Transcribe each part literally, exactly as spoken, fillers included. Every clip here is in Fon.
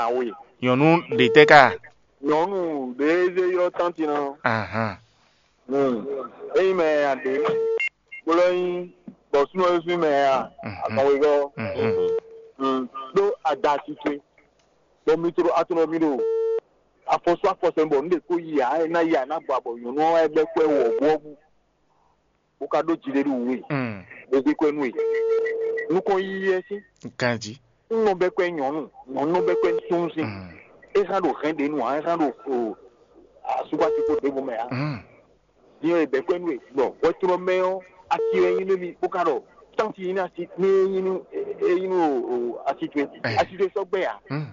Awe. Nyɔ̌nu ɖě tɛ́ ka? Nyɔ̌nu ɖě e zé ylɔ́ tánti ná. Ahan. Hmm. Ényí mɛ a ɖě, bó lɛ́ nyí bɔ súnnu e sín mɛ a, Mhm. Azɔn wegɔ́. Mhm. Hmm. Ɖó ada asi towe, bɔ mi tló atlɔ mi ɖo afɔsú afɔsɛn bɔ nǔ ɖě kó yi ǎ, é ná yi ǎ, é ná gbɔ abɔ nyɔ̌nu ɔ́ wá bɛ́ kwɛ́ wɔ̌buwɔ́bú, bó ka ɖó jiɖeɖu wú we, Mm. bó zé kwɛ́ nú we. Nukɔn yiyi wɛ sín. Ganjí. Un nɔ bɛ́ kwɛ́ nyɔ̌nu, nyɔ̌nu nɔ bɛ́ kwɛ́ súnnu sín. Mm. É hán ɖo hɛn ɖě nu ǎ, é hán ɖo o asúgbátíkpo ɖěvo mɛ ǎ. Mm. Din ɔ́, è bɛ̌ kwɛ́ nú we, bɔ hwɛtunɔ mɛ ɔ́, asi wɛ nyí nú mi, bó ka ɖɔ tánti nyí nú asi, ní é nyí nú é nyí nú o asi towe, Ɛ. Asi towe sɔ́ gbɛ ǎ. Mm.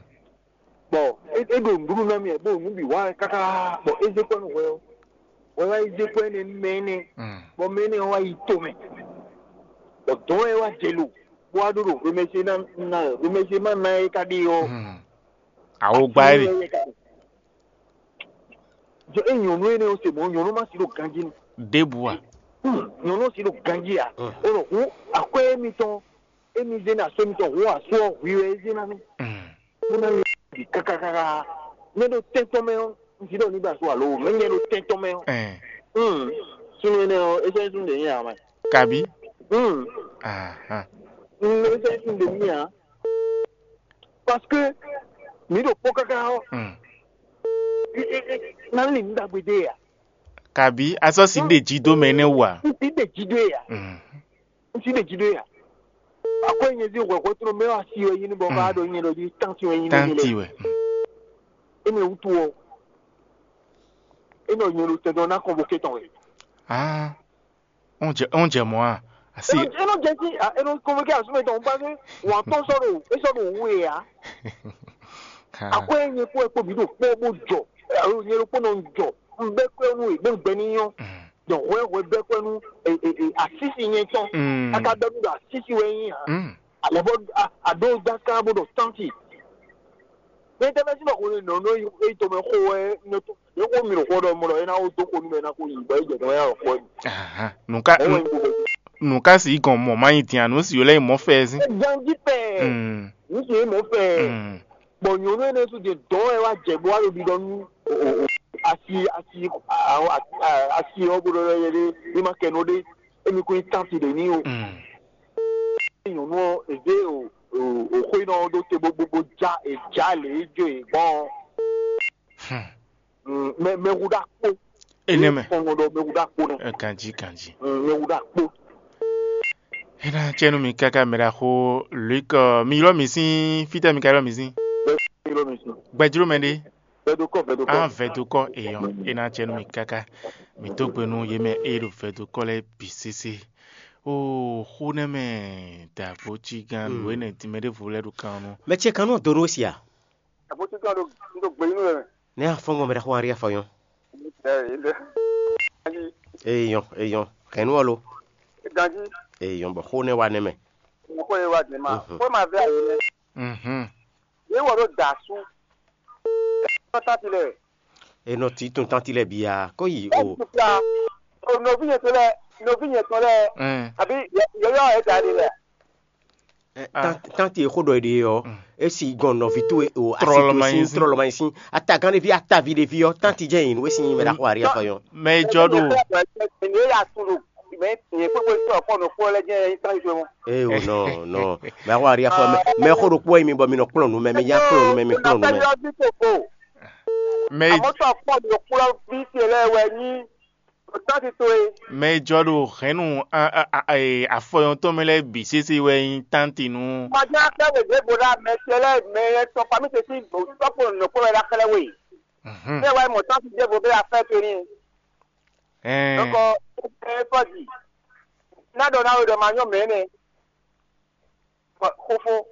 Bɔ é é ɖo nǔɖuɖu ná mì wɛ, bó ɖo nǔ bǐ wa wɛ káká, bɔ é zé kwɛ́ nú hwɛ ɔ́, hwɛ wá yi zé kwɛ́ nú mɛ énɛ́, Mm. Bɔ mɛ énɛ́ ɔ́ wá yi tomɛ, bɔ dɔ̌n wɛ wá jɛ lo, bó wá ɖó ɖo hwemɛsé ná ná hwemɛsé má ná é ká ɖe ɔ́, Mm. Awo gba é ɖe. Jɔ é nyɔ̌nu énɛ́ ɔ́ se mɔ̌, nyɔ̌nu má si ɖo ganjí nu. Ɖěbǔ a? Hmm, nyɔ̌nu ɔ́ si ɖo ganjí a? Mm. Ó ɖɔ hǔn akwɛ́ émitɔn émi zé ná asú émitɔn hǔn asú ɔ́ hwi wɛ é zé ná mì. Mm. Bó ná nyɛ bǐ kákákáká. Nyɛ ɖo tɛ́ntɔ́n mɛ ɔ́, un jí ɖɔ ní ba asú alo mɛ nyɛ ɖo tɛ́ntɔ́n mɛ ɔ́. Ɛɛ. Hmm. Súnnu énɛ́ ɔ́, é sɛ́ súnnu ɖě nyí ǎ mɛ. Kabi? Hmm. Ahan. Hmm, é sɛ́ súnnu ɖě nyí ǎ. Parce que mǐ ɖo kpɔ́ káká ɔ́, Mm. é- é- é- ná lin nǔ ɖagbe dó e ǎ. Kabi a sɔ́ si ɖe jí dó mɛ énɛ́ wú a? Un si ɖe jí dó e ǎ. Mm. Un si ɖe jí dó e ǎ. Akwɛ́ nyɛ zí hwɛhwɛ tló mɛ wá si wɛ nyí ní bɔ ká ɖo nyɛ ɖɔ jí tánti wɛ nyí ní Tánti lɛ. Wɛ. Mm. Énɛ́ wútu ɔ́, é nɔ nyɛ ɖo tɛn dɔn ná kɔn bo ké tɔn wɛ. Ah. Wọ́n jẹ wọ́n jẹ mọ́ a? Asi. Eno eno jẹ sí a eno kɔnvɔkɛ asúmɛ tɔn ba ní wọn tɔn sɔrɔ e sɔrɔ òwú e ya. Akɔ enyi kó ekpo bi ɖo kpɔ bó jɔ alo nyɛ ɖo kpɔ nɔ jɔ nbɛ kpɛ nu e gbɛ ngbɛ ni yɔ. Dɔn hwɛ hwɛ bɛ kpɛ nu e e e asisi nyɛ tɔn. Aka bɛ nu ɖo asisi wɛ nyi ha. Alɛ bɔ a a ɖo gbaka bó ɖo tɔnti. Ní tẹ́lẹ̀ sí bọ̀ kò ní nɔ ní yí tó mɛ xó wɛ ní tó yẹ kó mi xó ɖɔ mɔ ɖɔ é ná wó dó xó nú mɛ ná kó yí bɔ é jɛ tɔmɛ yà xó ɛ. Nǔká Ɛ wɛ nǔká sì gɔn mɔ má nyi dín ànú sì yó lẹ́yìn mọ́ fẹ́ sí. Ganji pɛ Mm, ní sì mɔ fɛ mm, bɔ nyɔnu ɛnɛ tún de dɔn ɛ wá jɛ bó wá lóbi ɖɔ nú asi asi asi ɔ bó ɖɔ yɛ ɖé ní ma kɛ nɔ ɖé émi kún tán ti ɖe ní o. Mm. Nyɔnu ɔ èdè o o xó iná ɔ ɖó te bó bó bó já èjá lě é jó è gbɔn. Hmm. Mɛ mɛ hu ɖa kpó. Enɛ mɛ. Kɔngɔ ɖɔ mɛ hu ɖa kpó nɛ. Ɛ, ganji ganji. Mɛ hu ɖa kpó. Ena tsɛnu mi kaka mɛ ɖa xo Luc, ɔ, mi ylɔ mi sín fítɛ mi ka ylɔ mi sín. Bɛɛ mi lɔ mi sùn. Gbɛjlo mɛ ɖe. Vɛdokɔ vɛdokɔ. Ah, vɛdokɔ eyɔ. Ena tsɛnu mi kaka. Mi tó gbe nú yé mɛ eye ɖo vɛdokɔ lɛ bǐ sésé. O xó nɛ mɛ dàgbó cí gán lǒ enɛ dín mɛ ɖěvo lɛ́ ɖo kan nú. Mɛ ce kan nɔ do nú sia. Àbótí kan ɖo ɖo gbé nínú rẹ̀. Ne afɔngɔ mɛ ɖe xɔ ari afɔyɔn. Ẹ ẹ Eyɔn, eyɔn. Kɛnu ɔlo. Ganji. Eyɔn bɔ xó ne wa ne mɛ. Mo kó ye wa dè ma. Mhm. Kó ma vɛ ayi ne. Mhm. Ye wɔ ɖo da su. Tɔta ti lɛ. Enɔ ti tun tanti lɛ bia ko yi o. Ɛ tukla. O novi yɛ to lɛ, novi yɛ tɔn lɛ. Mm. Abi yɔyɔ yɛ da de lɛ. Ɛ, Ah. Tan- tanti e xó ɖɔ ɖe ɔ, Mm. Esi gɔn nɔvi towe o Trɔlɔ ma asitu nyi sin sin. Trɔlɔ ma nyi sin. Atagán ɖevi atavi ɖevi ɔ, tanti jɛ yin nu esi nyi mɛ ɖaxɔ ari afɔ yɔ. Mɛ e jɔ ɖo. Ni e ya tu ɖo mɛ nyɛ kpekpe sɔ kpɔ nɔ kpɔ lɛ jɛ yin tan jɔ mɔ. Ee o nɔ nɔ mɛ axɔ ari afɔ mɛ mɛ xó ɖo kpɔ yi mi bɔ mi nɔ kplɔn nu mɛ mi ya kplɔn nu mɛ mi kplɔn nu mɛ. Mɛ Amɔtɔ kpɔ nɔ kplɔ fi se lɛ wɛ nyi. Tánti towe. Mɛ e jɔ ɖo hɛ̌nnu a- a- a- e, afɔyɔn tɔn mɛ lɛ́ɛ bǐ sésé wɛ nyí tánti nú. Màdé akpẹ́ wè dě gbo ɖa mɛ ce lɛ́ɛ mɛ e tɔ fami ce sín tɔ́kpo nɔ̌kpɔ́ wɛ ɖo axlɛ́ we. Mhm. Bẹ́ẹ̀ wá mọ̀ tánti dé gbo bẹ́ẹ̀ afẹ́ torí. Ɛɛ. Dɔkɔ ɛ fɔji. Ná ɖɔ ná wɛ ɖɔ ma nyɔ mɛ nɛ. Xofo.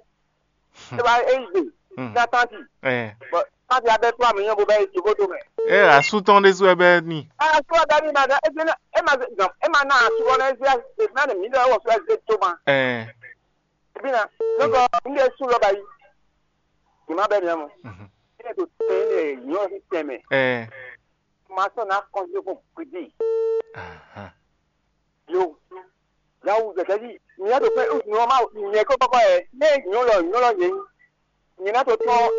Eba eyi gbe. Hmm. Na tanti. Ɛɛ. Bɔn tanti abɛ kura mi nyɔ bo bɛ yi jogodo mɛ. Ɛ asu tɔn ɖe su ɛbɛ ni. Asu ɛbɛ ni ma dɛ ebe na ema ze gam ema na asu kɔ na ezi ezi na ne mi dɛ wɔ su ezi to ma. Ɛɛ. Ebi na nɔgɔ n de su lɔ ba yi. Ni ma bɛ ni amɔ. Mhm. Ne to tɛ ne nyɔ si tɛmɛ. Ɛɛ. Ma sɔ na kɔnse ko gbede. Aha. Yo. Yawu gɛgɛ di. Nya ɖo fɛ nyɔ ma nyɛ kɔ kɔkɔ yɛ. Ne nyɔ lɔ nyɔ lɔ yɛ. Nyɛ na to tɔn na